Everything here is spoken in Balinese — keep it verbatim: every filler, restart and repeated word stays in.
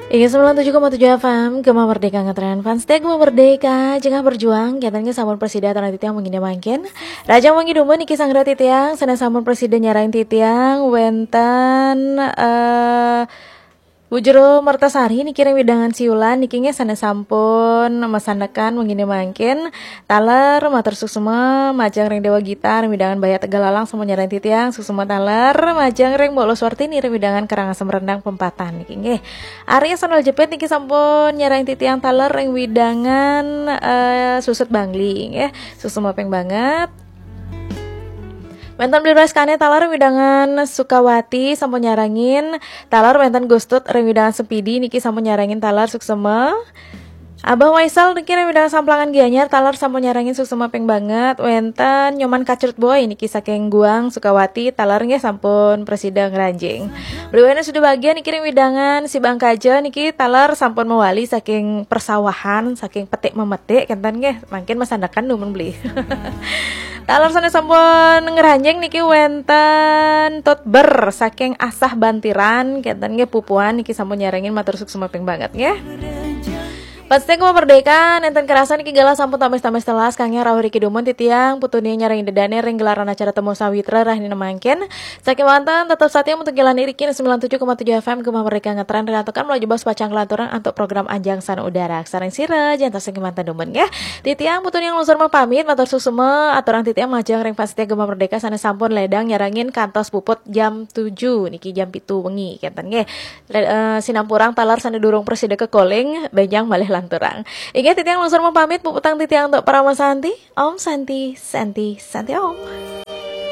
Inggih, sembilan tujuh koma tujuh F M, Gema Merdeka, ngetren fans setia Gema Merdeka, jengah berjuang, kenten gé sampun prasida aturang titiang wenginé mangkin. Rahajeng wengi dumun niki sareng titiang, sané sampun prasida nyarengin titiang, wénten, eh, Bu Jero Mertasari niki ring wewidangan Siulan niki nggih sané sampun masandekan wenginé mangkin. Taler matur suksma majeng ring Déwa Gita ring wewidangan Baya Tegalalang sampun nyarengin titiang, suksma taler majeng ring Mbok Luswartini ring wewidangan Karangasem Rendang Pempatan niki nggih. Arya Sandal Jepit niki sampun nyarengin titiang taler ring wewidangan, eh, Susut Bangli nggih. Suksma ping banget. Wénten Bli Raskane taler wewidangan Sukawati sampun nyarengin, taler wénten Gustut ring wewidangan Sempidi niki sampun nyarengin taler suksma. Abah Waisal niki ring wewidangan Samplangan Gianyar taler sampun nyarengin suksma ping banget. Wénten Nyoman Kacrut Boy niki saking Guang Sukawati taler nggih sampun prasida ngranjing. Bli Wahyu Suda Bagia niki ring wewidangan Sibang Kaja niki taler sampun mawali saking persawahan, saking petik memetik kenten nggih. Mangkin masandekan dumun Bli. Taler sané sampun ngranjing niki wénten Tut Ber saking Asah Bantiran, kenten nggih pupuan niki sampun nyarengin matur suksma ping banget nggih. Pasti Gema Merdeka, nénten kerasa niki galah sampun tamis-tamis telas, kangge rauh riki dumun titiang, putuné nyarengin dedane ring gelaran acara Temu Sawitra rahina mangkin. Saking wénten tetep satia untuk jalan iriki sembilan tujuh koma tujuh F M Gema Merdeka ngetren ring antukan melaju bos pacang kelanturan antuk program Anjang Sana Udara. Sareng sira, jantos saking wénten dumun nggih. Titiang putuné nglungsur mapamit, matur suksma, aturang titiang majeng ring fans setia Gema Merdeka sané sampun ledang nyarengin kantos puput jam tujuh niki jam pitu wengi kenten nggih. Le-, eh, sinampurang taler sané durung prasida kekoling, bénjang malih lanturang. Inggih titiang nglungsur mapamit, puputang titiang antuk Parama Santi. Om Santi, Santi, Santi Om.